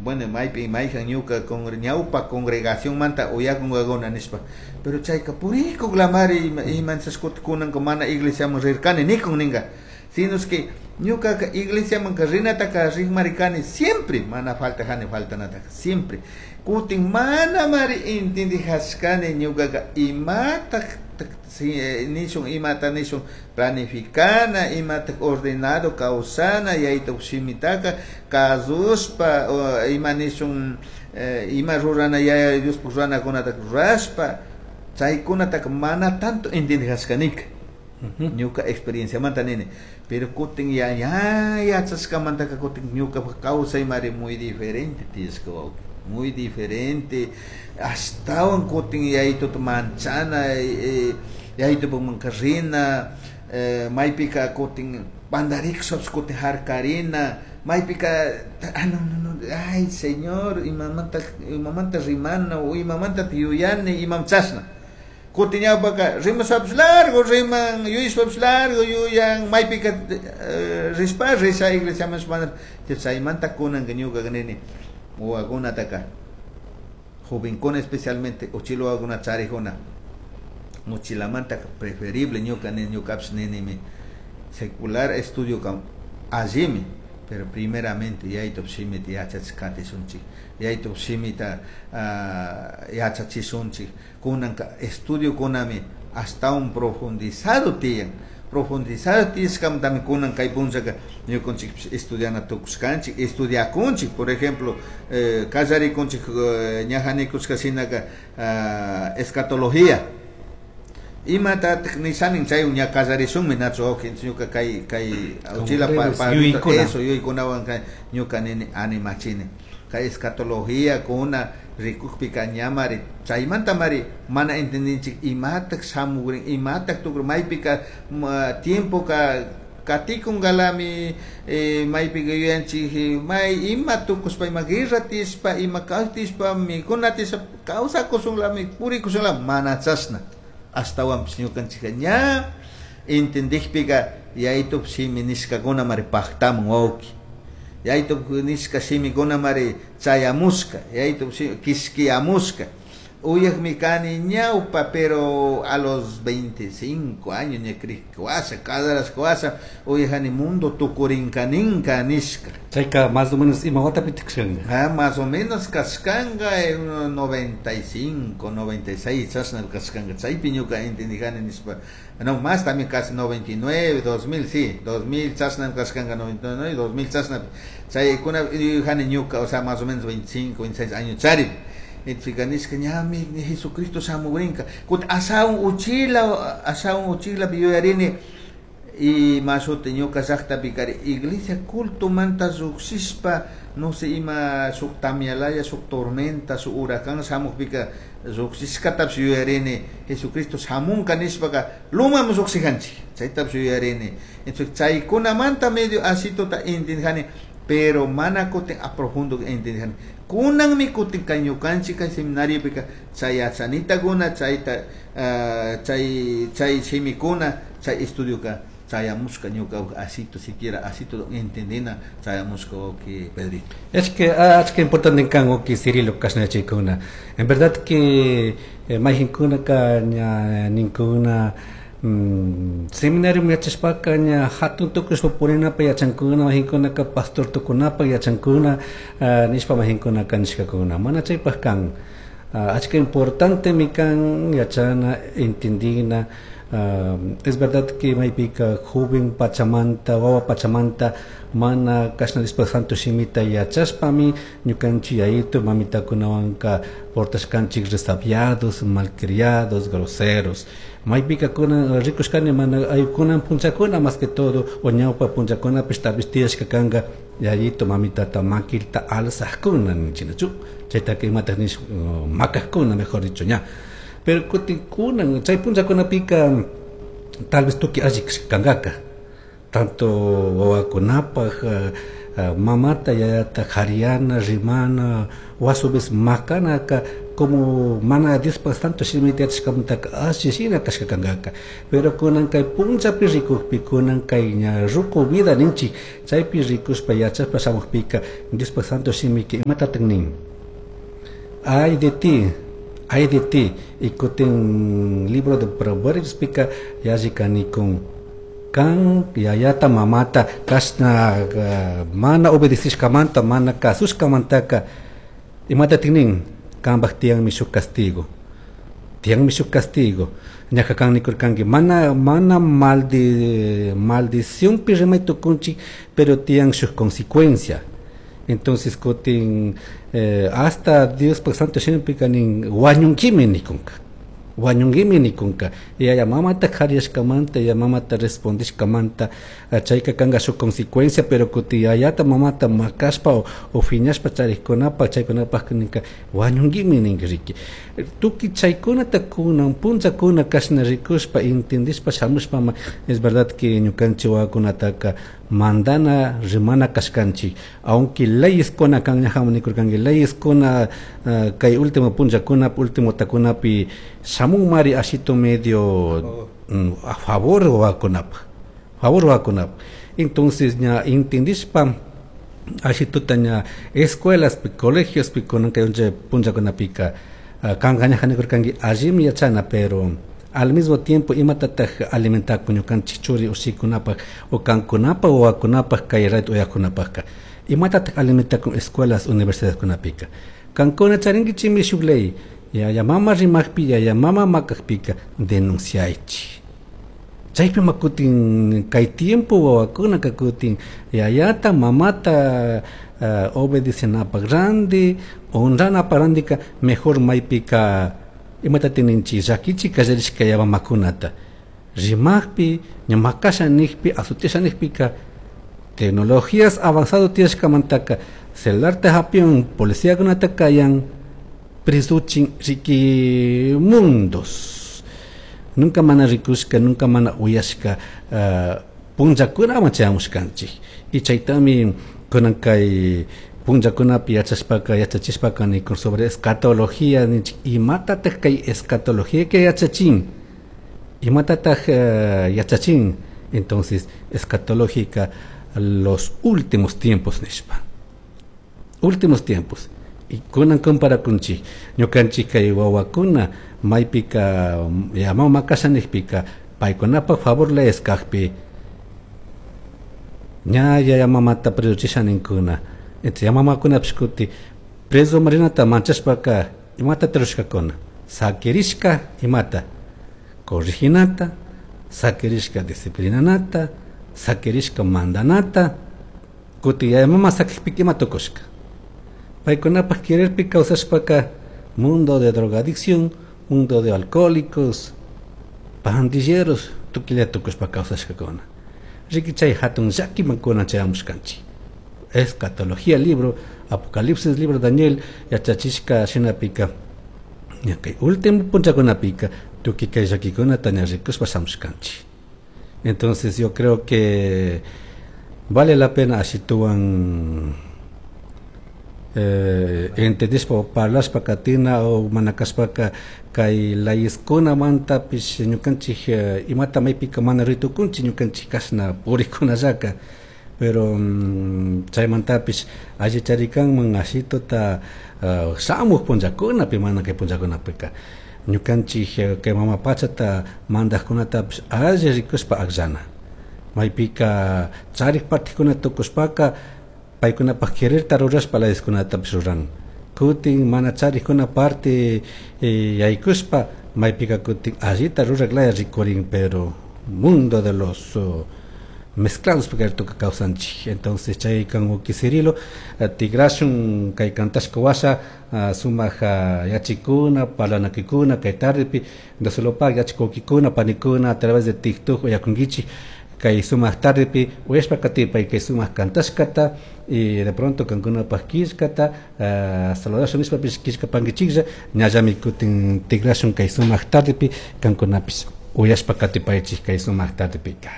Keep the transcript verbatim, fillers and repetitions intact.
Bueno, maypi mayjan ñuka ñawpa congregacionmanta uyakunkakuna nishpa, pero chayka purikuklamari imanchashkuta kunanka mana iglesiaman rirkani nikun ninka, sino es que ñukaka iglesiamanka rinataka rikmari kani siempre, mana faltajani faltanataka siempre. Kutin mana mari entendijashkani ñukaka imatak nishun, imata nishun planificana, imatak ordenado kawsana, yaytuk shimitaka kasushpa, ima nishun, ima rurana yaya Diospuk ruranakunataka rurashpa, chaykunataka mana tanto entendijashkanika. Ñuka experienciamanta nini, pero kutin ya ya yachashkamantaka kutin ñukapak kawsaymari muy diferente tiyashka wawki, muy diferente, ashtawan kutin yaytuta manchana, yaytupukmanka rina, maypika kutin pandarikushpapish kutin harkarina, maypika ah, no, no, no, ay señor, imamanta, imamanta rimana o imamanta yuyani, imam chashna. Kutin ñawpaka rimashpapish largo riman, yuyashpapish largo yuyan, maypika rishpa risha iglesiaman mana, chaymanta kunanka ñukaka nini wawakunataka jovencuna especialmente uchila wawakuna charijuna muchilamantaka preferible ñuka nini, ñukapish ninimi secular estudio ka allimi, pero primeramente yaytup shimita yachachik katishunchik, yaytup shimita yachachishunchik. Kunanka estudio kunami ashtawan profundizado tiyan, profundizado tiyashkamantami kunan kay punllaka ñukanchikpish estudiana tukushkanchik, estudiakunchik. Por ejemplo, eh, kallarikunchik, eh, ñaja nikushka shinaka, ah, escatología, imatatak nishanin chay ña kallarishunmi nachu wawki, ñuka kay, kay uchila pa, pa, eso yuykunawan kay ñuka nini animachini kay escatología kuna rikukpika ñamari chaymantamari mana entendinchik imatak shamugrin, imatak tukrin, maypika tiempoka katikunkalami, eh, maypika yuyanchik, may ima tukushpa, ima guerra tishpa, ima kawtishpa, mikuna tishpa, kawsakushunlami, purikushunlami, mana chashna. Ashtawanpish ñukanchikka ña entendikpika yaytup shimi nishkakuna mari paktamun wawki, yaytup nishka shimikuna mari chayamushka, yaytup shimi kishkiyamushka. Uyakmi kani ñawpa, pero a los veinticinco años ña krikkuwasha, kadarashkuwasha, uyajani mundo tukurinkaninka nishka. Chayka más o menos ima watapi kashkanka? Ah, más o menos kashkanka en noventa y cinco, noventa y seis, chashna kashkanka. Chaypi ñuka entendijani nishpa, no, más también casi noventa y nueve, dos mil, sí, dos mil chashna kashkanka, noventa y nueve, dos mil chashna. Chaykuna yuyajani ñuka, o sea, más o menos veinticinco, veintiséis años chari. Entonces, nishka, ñami, Jesucristo shamugrinka. Kut asaun uchila, asaun uchila biyuyarini, y mashuti ñuka llaqtapi kari iglesia culto manta lluqshishpa, no sé, ima shuk tamialaya, shuk tormenta, shuk huracán shamuqpika lluqshishkatapish yuyarini, Jesucristo shamunka nishpaka lumaman lluqshijanchik, chaytapish yuyarini. Entonces, chaykunamanta medio asituta entendijani, pero mana kutin a profundo entendijani. Kunanmi kutin kay ñukanchik kay seminariopika chay yachanitakuna, chayta, ah, chay, chay shimikuna, chay estudioka chayamushka ñuka asito siquiera asito entendina chayamushka wawki Pedrito. Es que, ah, es que importante kan wawki Cirilo kashnachikuna. En verdad que, eh, mayhinkunaka ña ninkuna, mm, seminario yachashpaka ña hatun tukushpa purinapa yachankuna, mayhinkunaka pastor tukunapa yachankuna, ah, nishpa mayhinkunaka nishkakuna. Mana chaypaj kan. Ah, achka importante mi kan yachana, entendina. Ah, es verdad que maypika joven pachamanta, wawa pachamanta, mana kashna nispa santo shimita yachashpami ñukanchik yayito mamitakunawanka portashkanchik resabiados, malcriados, groseros. Maypika kuna rikushkani mana aykunan punchakuna más que todo o ñawpa punchakunapish tal vez tiyashka kanka yayito mamitata makilta alzajkuna ninchinachu, chaytaka imataj nish, uh, makajkuna mejor dicho ña. Pero kutin kunan chay punchakunapika tal vez tuki alli kankaka, tanto wawakunapaj, eh, eh, mamata yayata jariana, rimana, o a su vez makanaka Como mana Diospa santo shimita yachashkamantaka alli shina kashka kankaka. Pero kunan kay punllapi rikukpi, kunan kay ña ruku vida ninchik, chaypi rikushpa yachashpa shamukpika Diospa santo shimika imatatak nin? Ay de ti, ay de ti. Y kutin libro de Proverbios pika yalli kanikun kan yayata mamata kashna uh, mana obedecishkamanta mana kasushkamantaka imatatik nin? Kanpak tiyanmi shuk castigo, tiyanmi shuk castigo. Ñaja kan nikurkanki mana mana maldi maldicionpi rimay tukunchik, pero tiyan shuk consecuencia. Entonces kutin eh, hasta Diospak santo shimipika nin wañunkimi nikunka, wañunkimi nikunka. Yaya mamata kariyashkamanta, yaya mamata respondishkamanta, chayka kanka shuk consecuencia, pero kuti yayata mamata makashpa o, o fiñashpa charikkunapa chaykunapak ninka wañunkimi ninka riki. Tukuy chaykunata kunan punllakuna kashna rikushpa entendishpa shamushpa, es verdad que ñukanchik wawakunataka mandana rimana kashkanchik, aunque leyes kuna kan ñajaman nikurkanki leyes kuna uh, kay último punllakuna último takunapi shamunmari ashito medio mm, a favor wawakunapaj, favor wawakunapaj. Entonces ña entendishpa ashituta ña escuelaspi colegiospi kunan kay punllakunapika uh, kanka ñaja nikurkanki allimi yachana, pero al mismo tiempo imatataj alimentakun ñukanchik churi ushikunapaj o kankunapaj wawakunapaj kay rato uyakunapajka, imatataj alimentakun escuelas universidadkunapika. Kankuna charinkichikmi shuk ley, yaya mama rimakpi yaya mama makakpika denunciaychik. Chaypi makutin kay tiempo wawakunaka kutin yayata mamata uh, obedecenapaj randi honranapaj randika mejor maypika imatatik ninchik llakichik kallarishka yaya mamakunata rimakpi ña makasha nikpi azutisha nikpika tecnologías avanzado tiyashkamantaka celularta hapiun policiakunata kayan presuchin riki mundos. Nunca mana rikushka, nunca mana uyashka uh, punllakunaman chayamushkanchik. Y chaytami kunan kay punllakunapi yachashpaka yachachishpaka nikun sobre escatología ninchik, imatataj kay escatología que yachachin, imatataj uh, yachachin. Entonces escatológica los últimos tiempos nishpa, últimos tiempos. Y kunan comparakunchik ñukanchik kay wawakuna maypika yama makasha nikpika paykunapaj favor leyes kajpi ña yaya mamata presuchisha ninkuna. Entonces ya mamakunapish kuti preso marinata manchashpaka imata rushkakuna sakirishka imata corriginata, sakirishka disciplinanata, sakirishka mandanata. Kuti yaya mama sakikpika ima tukushka paykunapaj quererpi kawsashpaka mundo de drogadicción, mundo de alcohólicos, pandilleros, tukilla tukushpa kawsashkakuna. Riki chay hatun llakiman kunan chayamushkanchik. Escatología libro, Apocalipsis libro Daniel yachachishka shinapika ña kay último punllakunapika tukuy kay llakikunata ña rikushpa shamushkanchik. Entonces yo creo que vale la pena ashituwan eh, entendishpa parlashpa katina o mana kashpaka kay leyeskunamantapish ñukanchik eh, imata maypika mana ritukunchik ñukanchik kashna purikunallaka, pero mm, chaymantapish alli charikanman ashituta uh, shamuk punllakunapi mana kay punllakunapika ñukanchik eh, kay mama pachata mandajkunatapish alli rikushpa akllana maypika charik partikuna tukushpaka paykunapaj quererta rurashpa leyeskunatapish ruran. Kutin mana charikuna parte eh, yaykushpa maypika kutin allita rurak laya rikurin, pero mundo de los uh, mezclados porque tuka kawsanchik. Entonces chay kan uki Cirilo uh, tigrashun kay kantashka washa uh, sumak uh, yachikuna parlanakikuna kay tardepi dosolopak yachikukikuna panikuna a través de TikTok uyakunkichik kay sumak tardepi uyashpa katipay kay sumak kantashkata y de pronto kankunapaj killkata uh, saludashun nishpapish killkapankichiklla ñallami kutin tigrashun kay sumak tardepi kankunapish uyashpa katipaychik kay sumak tardepika.